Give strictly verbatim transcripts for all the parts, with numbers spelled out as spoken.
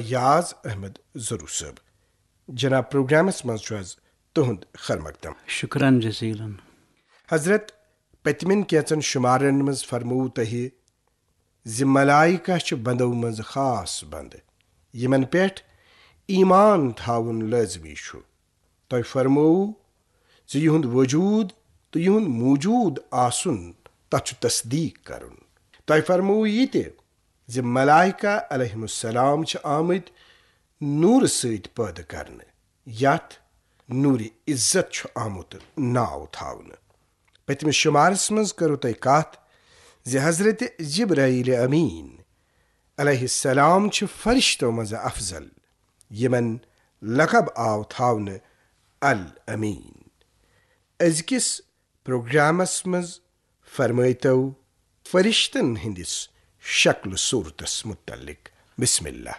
یاز احمد ظروٗ صٲب۔ جناب، پروگرامس منٛز چھُ از تُہُنٛد خیر مقدم۔ شکرن جزیلن۔ حضرت، پٔتمٮ۪ن کینٛژن شمارن منٛز فرموو تۄہہِ زِ ملائکہ چھِ بندو منٛز خاص بندٕ، یِمن پٮ۪ٹھ ایمان تھاوُن لٲزمی چھُ۔ تۄہہِ فرموو زِ یِہُنٛد وجود تہٕ یِہُنٛد موجود آسُن، تتھ چھُ تصدیق کرُن۔ تۄہہِ فرموو یہِ تہِ زِ ملائکہ علیہم السلام چھِ آمٕتۍ نوٗرٕ سۭتۍ پٲدٕ کرنہٕ، یتھ نوٗرِ عزت چھُ آمُت ناو تھاونہٕ۔ پٔتمِس شمارس منٛز کٔرٕو تۄہہِ کتھ زِ حضرت جبرائیل امین علیہ السلام چھِ فرشتو منٛز افضل، یِمن لقب آو تھاونہٕ الامین۔ أزکِس پروگرامس منٛز فرمٲیتو فرشتن ہٕنٛدِس شکل صورتس متعلق۔ بسم اللہ۔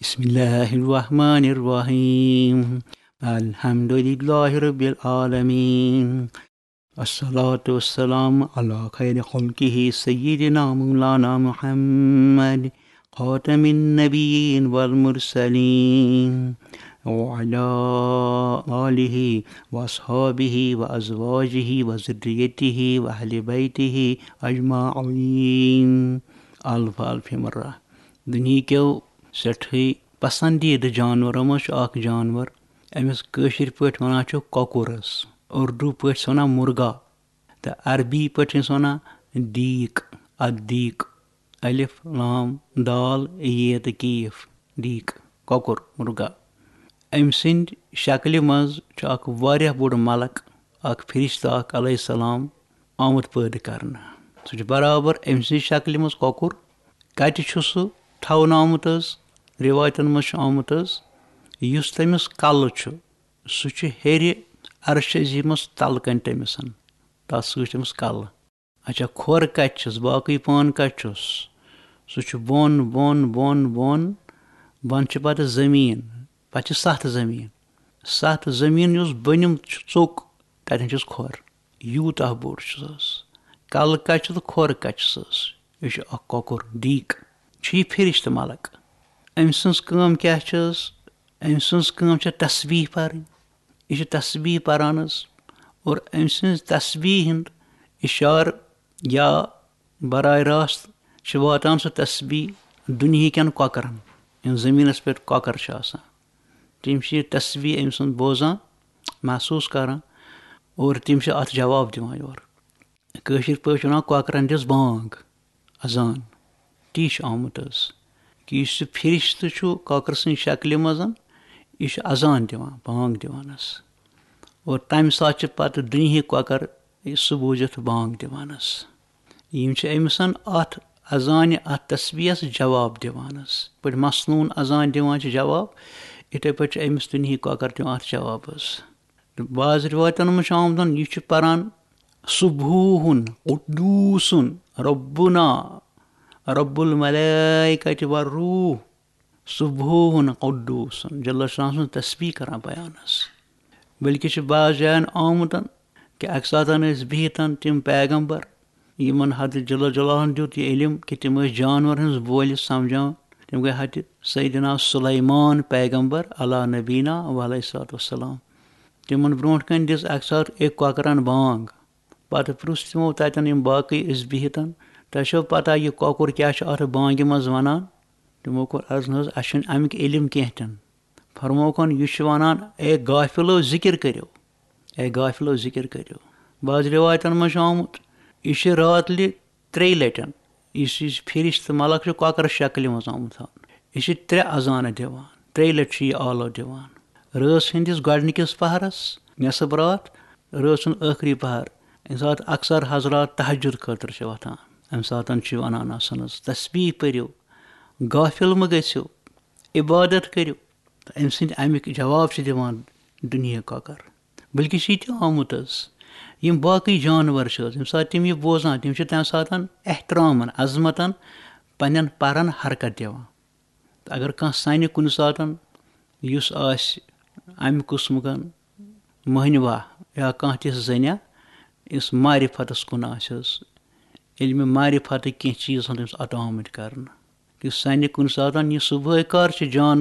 بسم اللہ الرحمن الرحیم۔ الحمد للہ رب العالمین۔ الصلاة والسلام على خير خلقه سيدنا مولانا محمد خاتم النبيين والمرسلين وعلى آله وأصحابه وأزواجه وذريته وأهل بيته أجمعين۔ الف الف مرہ۔ دنیا کیو سٮ۪ٹھٕے پسندیدٕ جانورو منٛز چھُ اکھ جانور، أمِس کٲشِر پٲٹھۍ ونان چھِ کۄکُر حظ، اردو پٲٹھۍ چھِ ونان مرغا، تہٕ عربی پٲٹھۍ چھِ أسۍ ونان دیٖک، الدیٖک، الف لام دال یے تہٕ کیف، دیٖک، کۄکُر، مرغا۔ أمۍ سٕنٛدِ شکلہِ منٛز چھُ اکھ واریاہ بوٚڑ ملک، اکھ فرشتہٕ اکھ علیہ السلام آمُت پٲدٕ کرنہٕ۔ سُہ چھُ برابر أمۍ سٕنٛزِ شکلہِ منٛز کۄکُر۔ کتہِ چھُ سُہ تھاونہٕ آمُت حظ؟ رِوایتن منٛز چھُ آمُت حظ، یُس تٔمِس کلہٕ چھُ، سُہ چھُ ہیٚرِ عرشِ عظیٖمس تلہٕ کنہِ تٔمِس۔ تتھ سۭتۍ چھُ تٔمِس کلہٕ۔ اچھا، کھۄر کتہِ چھُس؟ باقٕے پان کتہِ چھُس؟ سُہ چھُ بۄن، بۄن، بۄن، بۄن۔ بۄن چھِ پتہٕ زٔمیٖن، پتہٕ چھِ ستھ زٔمیٖن۔ ستھ زٔمیٖن یُس بٔنِم چھُ ژوٚک، تتٮ۪ن چھُس کھۄر۔ یوٗتاہ بوٚڑ چھُس حظ۔ کلہٕ کتہِ چھُ تہٕ کھۄر کتہِ چھُس حظ؟ یہِ چھُ اکھ کۄکُر، دیٖک۔ چھُ یہِ فرشتہٕ ملک۔ أمۍ سٕنٛز کٲم کیٛاہ چھِ حظ؟ أمۍ سٕنٛز کٲم چھےٚ تسبیح پرٕنۍ۔ یہِ چھُ تسبیح پران حظ۔ اور أمۍ سٕنٛز تسبیح ہُنٛد اِشارٕ یا براہ راست چھِ واتان سُہ تسبیح دُنہِکٮ۪ن کۄکرن، یِم زٔمیٖنَس پٮ۪ٹھ کۄکر چھِ آسان۔ تِم چھِ یہِ تسبیح أمۍ سُنٛد بوزان، محسوٗس کران، اور تِم چھِ اَتھ جواب دِوان یورٕ۔ کٲشِر پٲٹھۍ وَنان کۄکرَن دِژ بانٛگ، اذان۔ تی چھُ آمُت حظ کہِ یُس یہِ فرشتہٕ چھُ کۄکرٕ سٕنٛدِ شکلہِ منٛز، یہِ چھُ اذان دِوان، بانٛگ دِوان حظ۔ اور تَمہِ ساتہٕ چھِ پَتہٕ دُنہِکۍ کۄکر سُہ بوٗزِتھ بانٛگ دِوان حظ۔ یِم چھِ أمِس اَتھ اذانہِ، اَتھ تسبیحس جواب دِوان حظ۔ یِتھ پٲٹھۍ مسنوٗن اذان دِوان چھِ جواب، یِتھَے پٲٹھۍ چھِ أمِس دُنہِکۍ کۄکر دِوان اَتھ جواب حظ۔ تہٕ بعض رِوایتَن منٛز چھُ آمُت، یہِ چھُ پَران، سُبحوٗحُن قُدوٗسُن رَبُّنا رَبُّ الْمَلَائِکَةِ وَالرُّوحِ۔ سُبحوٗحُن قُدوٗسُن، جل شانہ سٕنٛز تسبیح کران بیان حظ۔ بلکہِ چھُ بعض جاین آمُت کہِ اَکہِ ساتہٕ ٲسۍ بِہِتھ تِم پیغمبر، یِمن حضرت جل جلالہن دیُت یہِ علم کہِ تِم ٲسۍ جانور ہٕنٛز بولہِ سمجھان۔ تِم گٔے حضرت سیدنا سلیمان پیغمبر علی نبینا و علیہ الصلوۃ والسلام۔ تِمن برونٛٹھ کنہِ دِژ اَکہِ ساتہٕ أکۍ کۄکرن بانگ۔ پتہٕ پرُژھ تِمو تتٮ۪ن، یِم باقٕے ٲسۍ بِہِتھ، "تۄہہِ چھو پتہ یہِ کۄکُر کیٛاہ چھُ اتھ بانگہِ منٛز ونان؟" تِمو کوٚر عرض، "نہ حظ، اسہِ چھُنہٕ امیُک علم کینٛہہ تہِ نہٕ۔" فرمووُکھ، "یہِ چھُ ونان، اے غافلو، ذکر کٔرِو، اے غافلو، ذکر کٔرِو۔" بعض رِوایتن منٛز چھُ آمُت، یہِ چھُ راتلہِ ترٛیٚیہِ لٹہِ، یُس یہِ فرشتہٕ ملک چھُ کۄکرٕ شکلہِ منٛز آمُت تھاونہٕ، یہِ چھُ ترٛےٚ اذانہٕ دِوان، ترٛیٚیہِ لٹہِ چھُ یہِ آلو دِوان۔ رٲژ ہٕنٛدِس گۄڈٕنِکِس پہرس، نصف راتھ، رٲژ ہُنٛد ٲخری پہر، ییٚمہِ ساتہٕ اکثر حضرات تہجد خٲطرٕ چھِ وۄتھان، امہِ ساتہٕ چھِ ونان آسان حظ، "تسبیح پٔرِو، غافل مہٕ گٔژھِو، عبادت کٔرِو۔" تہٕ أمۍ سٕنٛدۍ اَمِکۍ جواب چھِ دِوان دُنہِکۍ کۄکر۔ بلکہِ چھِ یہِ تہِ آمُت حظ، یِم باقٕے جانور چھِ حظ، ییٚمہِ ساتہٕ تِم یہِ بوزان، تِم چھِ تَمہِ ساتہٕ احترامن، عظمتن پننٮ۪ن پرن حرکت دِوان۔ تہٕ اگر کانٛہہ سَنہِ کُنہِ ساتہٕ، یُس آسہِ اَمہِ قٕسمُک مٔہنِوا یا کانٛہہ تِژھ زٔنیا، یُس معرفتس کُن آسہِ حظ، علمِ معرفتٕکۍ کینٛہہ چیٖز آسَن تٔمِس عطا آمٕتۍ کرنہٕ، یُس سَنہِ کُنہِ ساتہٕ، یہِ صُبحٲے کر چھِ جانور